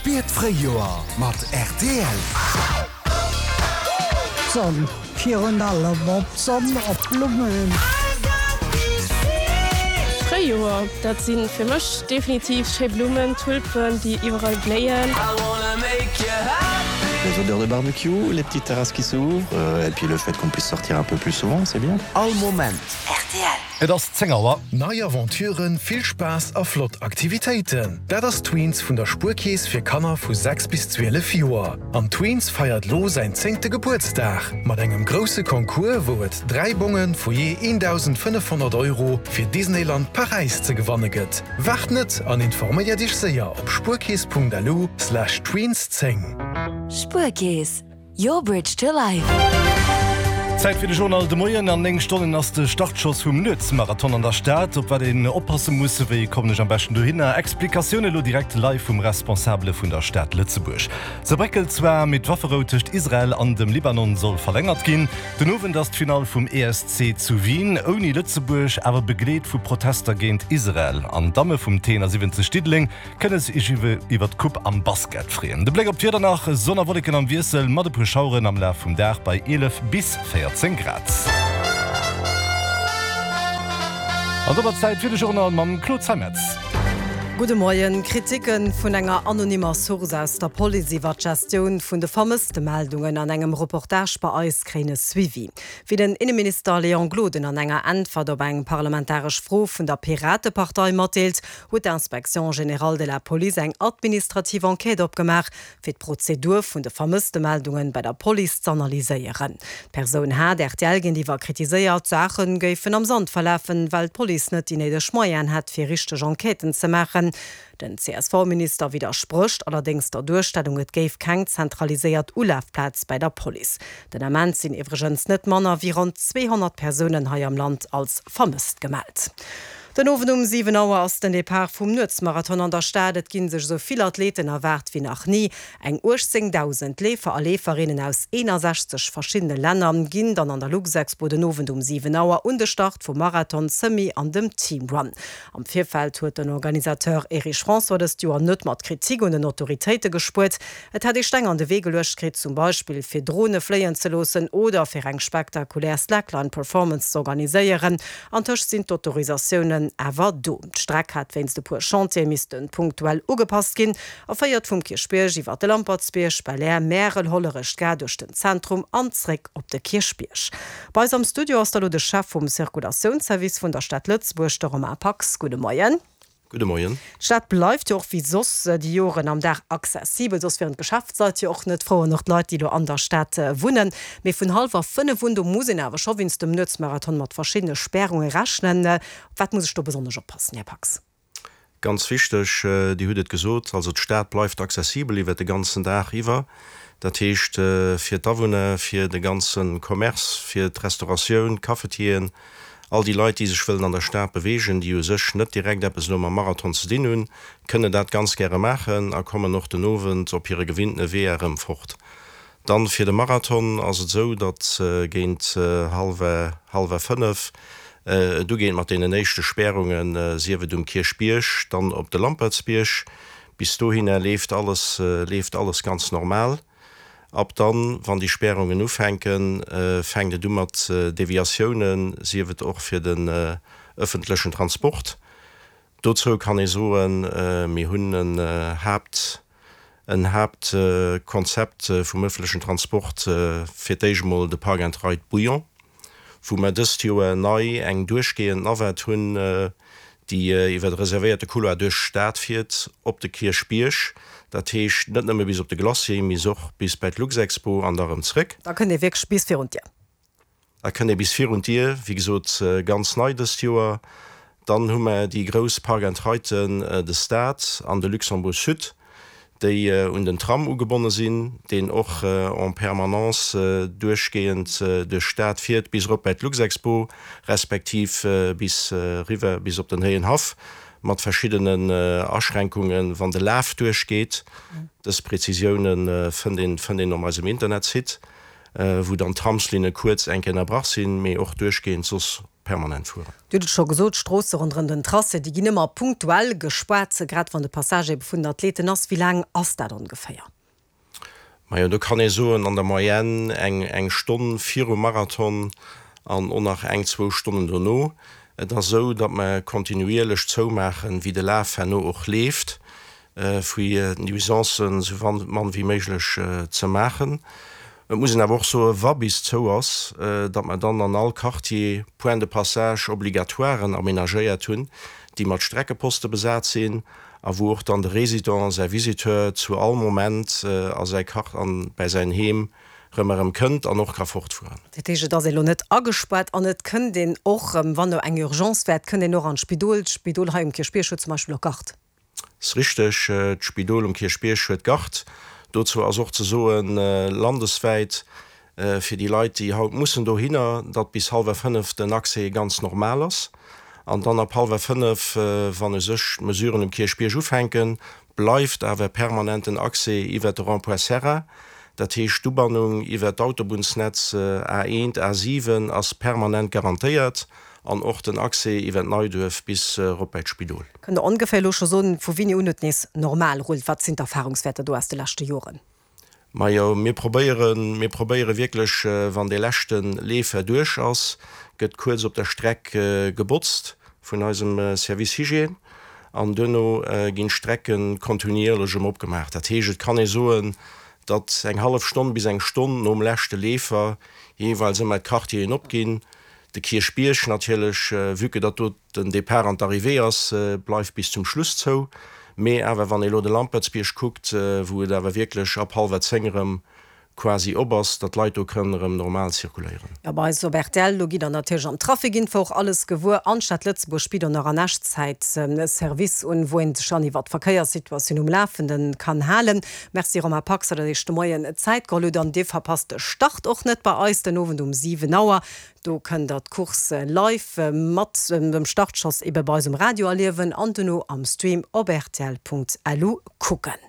Spier d'Fréijoer mat rtl. D'Sonn, virun allem op d'Sonn, op d'Blummen. Fréijoer, dat si fir mech definitiv schéi Blummen, Tulpen, déi iwwerall bléien. Les odeurs de barbecue, les petites terrasses qui s'ouvrent et puis le fait qu'on puisse sortir un peu plus souvent, c'est bien. All Moment. Rtl. Et ass 10 Auer. Nei Aventuren, vill Spaass a flott Aktivitéiten, dat ass d'Tweens vun der Spuerkeess fir Kanner vu 6 bis 12 Joer. An d'Tweens feiert lo säin zéngte Gebuertsdag mat engem grousse Concours, wou et 3 Bonge vu jee 1.500 Euro fir Disneyland Paräis ze gewanne gëtt. Waart net an informéiert iech séier op spuerkeess.lu slash tweens 10. Spuerkeess, Your bridge to life. Zäit fir de Journal de Moien. An 9 Stonnen ass de Startschoss vum Nuetsmarathon an der Stad. Op wat een oppasse muss, wéi kommen ech am beschten dohinner? Explikatioune lo direkt live vum Responsabele vun der Stad Lëtzebuerg. Se bréckelt zwar, mee d'Wafferou tëscht Israel an dem Libanon soll verlängert ginn. Den Owend ass d'Finall vum ESC zu Wien, ouni Lëtzebuerg, awer begleet vu Protester géint Israel. An d'Damme vum T71 Diddeleng Kënne sech iwwer d'Coupe am Basket freeën. De Bléck op d'Wieder nach, Sonn a Wolleken am Wiessel mat e puer Schaueren am Laf vum Dag bei 11 bis 14 Grad. An domat Zäit fir de Journal mam Claude Zeimetz. Gudde Moien. Kriticke vun enger anonymer Source aus der Police iwwer d'Gestioun vun de Vermësstemeldungen an engem Reportage bei eis kréien e Suivi. Wéi den Inneminister Léon Gloden an enger Äntwert op eng parlamentaresch Fro vun der Piratepartei matdeelt, huet d'Inspection générale de la police eng administrativ Enquête opgemaach, fir d'Prozedur vun de Vermësstemeldungen bei der Police z'analyséieren. D'Persoun hat rtl géintiwwer kritiséiert, d'Saache géifen am Sand verlafen, well d'Police net déi néideg Moyenen hätt, fir richteg Enquêten ze maachen. Den CSV-Minister widdersprécht allerdéngs der Duerstellung, et géif keng zentraliséiert Ulafplaz bäi der Police. Den Ament sinn iwwregens net manner wéi ronn 200 Persounen hei am Land als vermësst gemellt. Den Owend um 7 Auer ass den Depart vum Nuetsmarathon an der Stad. Et ginn sech esou vill Athleten erwaart wéi nach ni. Eng 18.000 Leefer a Leeferinnen aus 61 verschiddene Länner ginn dann an der Luxexpo den Owend um 7 Auer un de Start vum Marathon, Semi an dem Team Run. Am Virfeld huet den Organisateur Erich François dëst Joer net mat Kritik un den Autoritéite gespuert. Et hätt ee Steng an de Wee geluecht kritt, zum Beispill fir Drone fléien ze loossen oder fir eng spektakulär Slackline-Performance z'organiséieren. Antëscht sinn d'Autorisatiounen awer do. D'Streck hat wéinst e puer Chantiere misste punktuell ugepasst ginn a féiert vum Kierchbierg iwwer de Lampertsbierg, Belair, Märel, Hollerech, d'Gare duerch den Zentrum an zréck op de Kierchbierg. Bei eis am Studio ass da lo de Chef vum Circulatiounsservice vun der Stad Lëtzebuerg, de Romain Pax. Gudde Moien. Gudde Moien. D'Stad bleift jo och wéi soss déi Joren am Dag accessibel, soss wieren d'Geschäftsleit jo och net frou an och d'Leit, déi elo an der Stad wunnen. Mee vun hallwer 5 un, do muss een awer scho wéinst dem Nuetsmarathon mat verschiddene Spärunge rechnen. Op wat muss ech do besonnesch oppassen, Här Pax? Ganz wichteg, Dir hutt et gesot, also d'Stad bleift accessibel iwwert de ganzen Dag iwwer. Dat heescht fir d'Awunner, fir de ganze Commerce, fir d'Restauratioun, d'Cafetieren, All déi Leit, déi sech wëllen an der Stad beweegen, déi u sech net direkt eppes elo mam Marathon ze dinn hunn, kënne dat ganz gäre maachen a kommen och den Owend op hire gewinntene Weeër erëm fort. Dann fir de Marathon ass et esou, datt géint hallwer hallwer 5 et ugeet mat deenen éischte Spärungen, sief et um Kierchbierg, dann op de Lampertsbierg. Bis dohinner leeft alles leeft alles ganz normal. Ab dann, wann déi Spärungen ufänken, fänkt et u mat Deviatiounen, sief et och fir den ëffentlechen Transport. Dozou kann ee soen, mir hunn en Haapt, en Haaptkonzept vum ëffentlechen Transport, fir d'éischt emol de Park and Ride Bouillon, wou mer dëst Joer nei eng duerchgehend Navette hunn, déi iwwer e reservéierte Couloir duerch d'Stad fiert op de Kierchbierg, dat heescht net nëmme bis op de Glacier, mee och bis bäi d'Luxexpo an da rëm zréck. Da kënnt ee wierklech bis virun d'Dier. Da kënnt ee bis virun d'Dier, wéi gesot ganz nei dëst Joer. Dann hu mer déi grouss Park and Riden, de Stade an de Luxembourg Sud, déi un den Tram ugebonne sinn, deen och en permanence duerchgehend duerch d'Stad fiert bis erop bäi d'Luxexpo, respektiv bis eriwwer bis op den Héienhaff, mat verschiddenen Aschränkungen, wann de Laf duerchgeet. Dës Prezisioune fënnt een fënnt een op eisem Internetsite. wou dann d'Tramslinne kuerz eng Kéier ënnerbrach sinn, mee och duerchgehend soss permanent fueren. Dir hutt et scho gesot, d'Stroosse ronderëm den Tracé, déi ginn ëmmer punktuell gespaart, grad wann de Passage ebe vun den Athleten ass. Wéi laang ass dat ongeféier? Majo, do kann ee soen, an der Moyenne eng eng Stonn virum Marathon an och nach eng, zwou Stonnen dono. Et ass esou, datt mer kontinuierlech zoumaachen, wéi de Laf herno och leeft, fir d'Nuisancen esou mann wéi méiglech ze maachen. Et muss een awer och soen, wa bis zou ass, datt mer dann an all Quartier Points de passage obligatoiren aménagéiert hunn, déi mat Streckeposte besat sinn a wou och dann de Résident, säi Visiteur zu all Moment a säi Quart an bäi säin Heem rëm erëm kënnt an och ka fortfueren. Dat heescht, et ass ee lo net agespaart an et kënnt een och, wann do eng Urgence wär, et kënnt een och an d'Spidol. D'Spidol hei um Kierchbierg huet zum Beispill och Garde. Ass richteg, d'Spidol um Kierchbierg huet Garde. Dozou ass och ze soen, landeswäit, fir déi Leit, déi haut mussen dohinner, datt bis hallwer 5 den Accès ganz normal ass. An dann ab hallwer 5, wann u sech d'Mesuren um Kierchbierg ufänken, bleift awer permanent den Accès iwwert de Rond-point Serra. Dat heescht, d'Ubannung iwwert d'Autobunnsnetz A1, A7 ass permanent garantéiert an och den Accès iwwert Neiduerf bis erop bäi d'Spidol. Kënnt Der ongeféier elo scho soen, vu wéini un et nees normal rullt? Wat sinn d'Erfahrungswäerter do aus de leschte Joren? Majo, mir probéieren, mir probéiere wierklech, wann dee leschte Leefer duerch ass, gëtt kuerz op der Streck gebotzt vun eisem Service Hygiène an duerno ginn d'Strecke kontinuierlech erëm opgemaach. Dat heescht, et kann ee soen, datt eng hallef Stonn bis eng Stonn nom leschte Leefer jeeweils ëmmer d'Quartieren opginn. De Kierchbierg natierlech, vue que datt do Den Depart an d'Arrivée ass bleift bis zum Schluss zou, mee awer wann ee lo de Lampertsbierg kuckt, wou et awer wierklech ab hallwer 10 erëm quasi op ass, datt d'Leit do kënnen erëm normal zirkuléieren. Jo, bei eis op rtl, do gitt der natierlech am Trafic Info och alles gewuer. An d'Stad Lëtzebuerg bitt och nach an Echtzäit e Service un, wou een sech dann iwwer d'Verkéierssituatioun um Lafenden kann halen. Merci Romain Pax, datt der Iech de Moien Zäit geholl hutt. An Dir verpasst de Start och net bei eis den Owend um 7 Auer. Do kënnt der d'Course live mat dem Startschoss ebe bei eis um Radio erliewen an dono am Stream op rtl.lu kucken.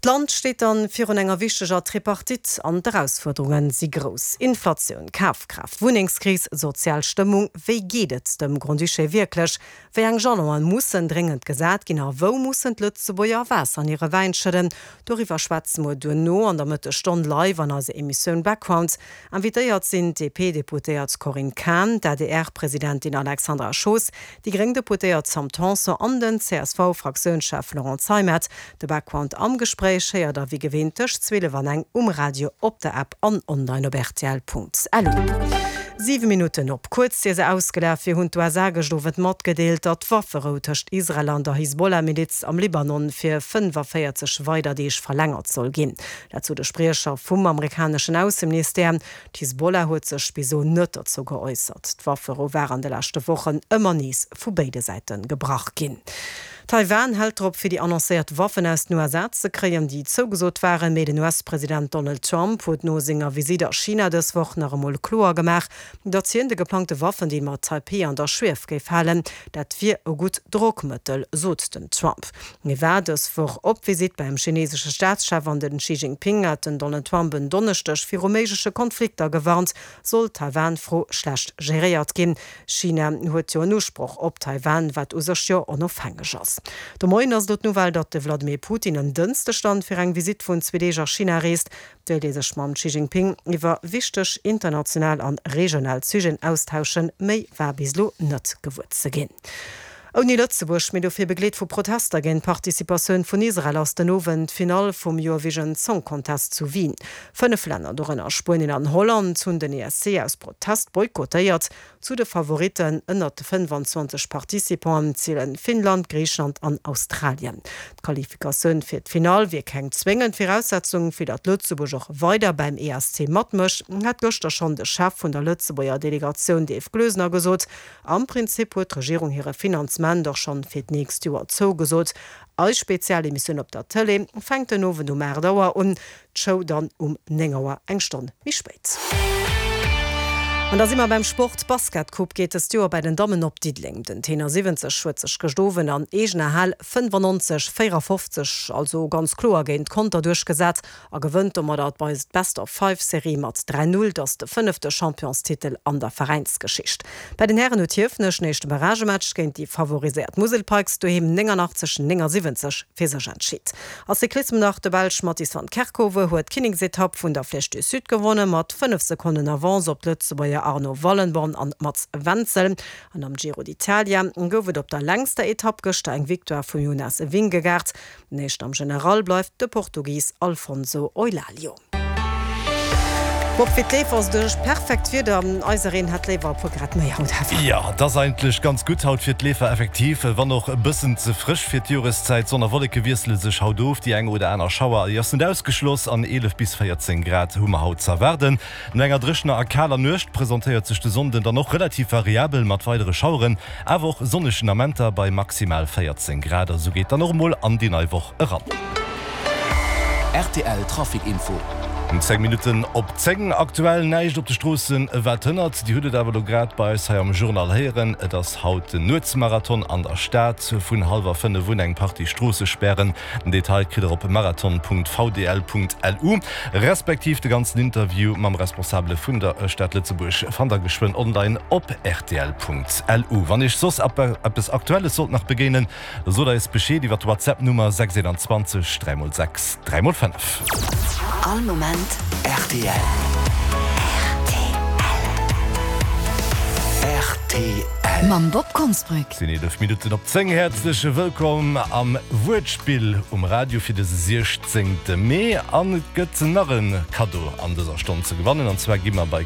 D'Land steet dann virun enger wichteger Tripartite an d'Erausfuerderunge si grouss, Inflatioun, Kafkraaft, Wunnengskris, sozial Stëmmung. Wéi geet et dem Grand-Duché wierklech? Wéi eng Jalonen mussen dréngend gesat ginn a wou mussen d'Lëtzebuerger Waasser an hire Wäin schëdden? Doriwwer schwätze mer duerno an der Mëttesstonn live an eiser Emissioun Background. Invitéiert sinn d'DP-Deputéiert Corinne Cahen, d'ADR-Presidentin Alexandra Schoos, déi gréng Deputéiert Sam Tanson an den CSV-Fraktiounschef Laurent Zeimet. De Background am Gespréich héiert der wéi gewinnt tëscht 12 an eng um Radio, op der App an online op rtl.lu. 7 Minutten op kuerz ier se ausgelaf wier, hunn d'USA gëscht Owend matgedeelt, datt d'Wafferou tëscht Israel an der Hisbollah-Miliz am Libanon fir 45 weider Deeg verlängert soll ginn. Dat sot e Spriecher vum amerikaneschen Ausseministère. D'Hisbollah huet sech bis elo net dozou geäussert. D'Wafferou war an de leschte Wochen ëmmer nees vu béide Säite gebrach ginn. Taiwan hält drop, fir déi annoncéiert Waffen aus den USA ze kréien, déi zougesot waren. Mee den US-President Donald Trump huet no senger Visitt a China dës Woch nach emol kloer gemaach, datt hien de geplangte Waffendeal mat Taipeh an der Schwief géif halen. Dat wier e gutt Drockmëttel, sot den Trump. Hie war dës Woch op Visitt beim chinesesche Staatschef an den Xi Jinping hat den Donald Trump en Donneschdeg viru méigleche Konflikter gewarnt, sollt d'Taiwan-Fro schlecht geréiert ginn. China huet jo en Usproch op Taiwan, wat u sech jo onofhängeg ass. De Moien ass elo d'Nouvelle, datt de Vladimir Putin en Dënschdeg dann fir eng Visitt vun zwee Deeg a China reest. Wéilt ee sech mam Xi Jinping iwwer wichteg international an regional Sujeten austauschen, méi war bis elo net gewuer ze ginn. Ouni Lëtzebuerg, mee dofir begleet vu Protester géint d'Participatioun vun Israel, ass den Owend d'Finall vum Eurovision Song Contest zu Wien. 5 Länner, dorënner Spuenien an Holland, hunn den ESC aus Protest boykottéiert. Zu de Favoritten ënnert de 25 Participanten zielen Finnland, Griicheland an Australien. D'Qualifikatioun fir d'Finall wier keng zwéngend Viraussetzung, fir datt Lëtzebuerg och weider beim ESC matmécht, hat gëschter schonn de Chef vun der Lëtzebuerger Delegatioun Dave Gloesener gesot. Am Prinzip huet d'Regierung hire Finanzement och schonn fir d'nächst Joer zougesot. Eis Spezialemissioun op der Tëlee fänkt den Owend um 8 Auer un. D'Show dann um 9 Auer, eng Stonn méi spéit. An da si mer beim Sport. D'Basketcoupe geet dëst Joer bei den Dammen op Diddeleng. Den Tenor 70 huet sech gëscht Owend an eegener Hal 95, 54, also ganz kloer géint Conter duerchgesat a gewënnt domadder d'Best-of-Five-Serie mat 3, 0. Et ass de fënnefte Championstitel an der Veräinsgeschicht. Bei den Hären huet Hiefenech den éischte Barragematch géint déi favoriséiert Musel Pikes doheem 89, 79 fir sech entscheet. A Cyclissem nach, De Belsch Mattis van Kerkhove huet d'Kinneksetapp vun der Flèche du Sud gewonne mat 5 Sekonnen Avance op d'Lëtzebuerger Arno Wallenborn an Mats Wenzel. An am Giro d'Italia gouf et op der längster Etapp gëschter eng Victoire vum Jonas Vingegaard. Den Éischten am General bleift de Portugis Alfonso Eulalio. Bob, fir d'Leefer ass et u sech perfekt Wieder, eisereen hätt léiwer e puer Grad méi haut awer. Jo, et ass eigentlech ganz gutt haut fir d'Leefer, effektiv, wann och e bëssen ze frësch fir d'Joreszäit. Sonn a Wolleke wiessele sech haut of, déi eng oder aner Schauer ass net ausgeschloss an 11 bis 14 Grad hu mer haut z'erwaarden. No enger dréchener a kaler Nuecht presentéiert sech de Sonnden dann och relativ variabel mat weidere Schaueren, awer och sonnegen Amenter bei maximal 14 Grad. A sou geet dann och emol an déi nei Woch eran. Rtl Trafic Info. 10 Minutten op 10, aktuell näischt op de Stroossen wat hënnert. Dir hutt et awer elo grad bei eis hei am Journal héieren, et ass haut den Nuetsmarathon an der Stad. Vun hallwer 5 un eng Partie Stroossespären. Den Detail kritt der op marathon.vdl.lu, respektiv de ganzen Interview mam Responsabele vun der Stad Lëtzebuerg fannt der geschwënn online op rtl.lu. Wann iech soss eppes Aktuelles sollt nach begéinen, da sot eis Bescheed iwwer d'Whatsapp-Nummer 621 3x6 3x5. All Moment rtl. Rtl. Mam Bob Konsbrück. Sinn 11 Minutten op 10. Häerzlech wëllkomm am Wuertspill um Radio fir dëse 16. Mee. An et gëtt nach e Kaddo an dëser Stonn ze gewannen, an zwar gi mer bei.